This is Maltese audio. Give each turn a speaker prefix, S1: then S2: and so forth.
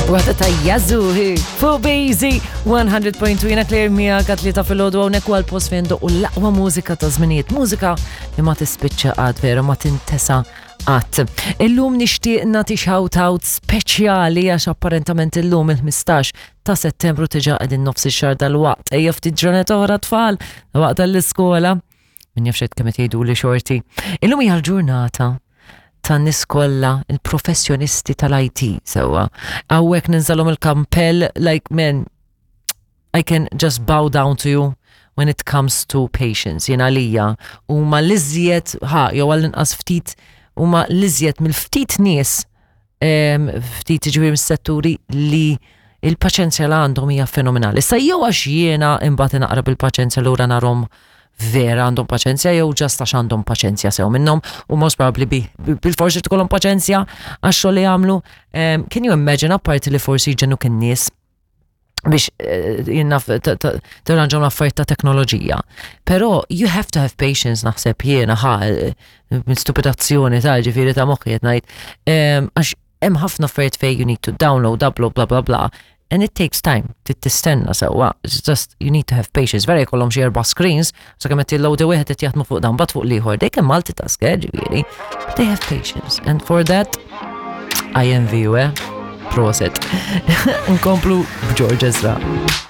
S1: Waħda ta' Yazoo hi fuq Bazy 100.2 jiena Claire miegħek għat-tlieta filgħodu hawnhekk huwa l-post fejn doqqu l-aqwa mużika ta' żminijiet, mużika li ma tispiċċa qatt vera ma tintesa qatt. Illum nixtieq nagħti shout out speċjali għax apparentament illum il-15 ta' Settembru tiġa qegħdin nofs ix-xahar dal-waqt. Ejja ftit ġranet oħra tfal, waqt tal-iskola. Min jaf xed kemm qed jgħidu li xorti. Illum hija l-ġurnata tan-nies kollha il-professjonisti tal-IT sewwa. Hawnhekk ninżalhom il-kampell like man I can just bow down to you when it comes to patience. Jien għalija huma l-iżjed ħa jew għall-inqas ftit huma l-iżjed mill-ftit nies ftit ġifieri mis-setturi li il-paċenzja li għandhom hija fenomenali. Issa jew għax jiena imbagħad naqra bil-paċenzja lura narhom vera għandhom paċenzja jew ġast għax għandhom paċenzja sew minnhom u most probably bil-forsi tkollhom paċenzja għax xogħol li jagħmlu. Can you imagine apparti li forsi jġennu kien nies biex eh, jinnaf tirranġaw l-affarijiet ta' teknoloġija. Però you have to have patience naħseb jiena ħa eh, minn stupidazzjoni ta' ġifieri ta' moħħi qed ngħid. Għax hemm ħafna affarijiet fejn you need to download, upload, bla bla bla. And it takes time, tistenna sewwa. It's just you need to have patience. Vera jkollhom xi erba' screens, so kemm qed jilloadi wieħed qed jaħdmu fuq dan bat fuq l-ieħor. They can multitask, eh, ġifieri. But they have patience. And for that, I envy you, eh? Proset. Nkomplu b'George Ezra.